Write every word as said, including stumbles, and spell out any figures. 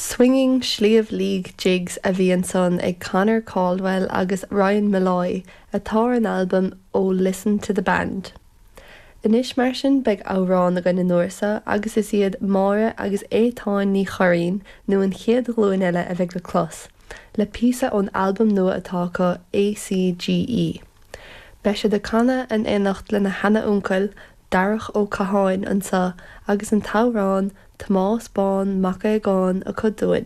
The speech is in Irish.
Swinging Sliabh Liag Jigs a bhí ansan ag Conor Caldwell agus Ryan Molloy atá ar an albam ó Listen to the Band. Anois mar sin beidh amhrán againn an uair seo agus is iad Máire agus Étáin Ní Churraoin nó an chéad ghlúin eile a bheidh le clos, le píosa ón albam nua atá acu ACGE. Beidh siad ag canadh in éineacht lena sheana-uncail Darach Ó Catháin anseo agus an t-amhrán Tomás Bán Mac Aogáin acu dúinn.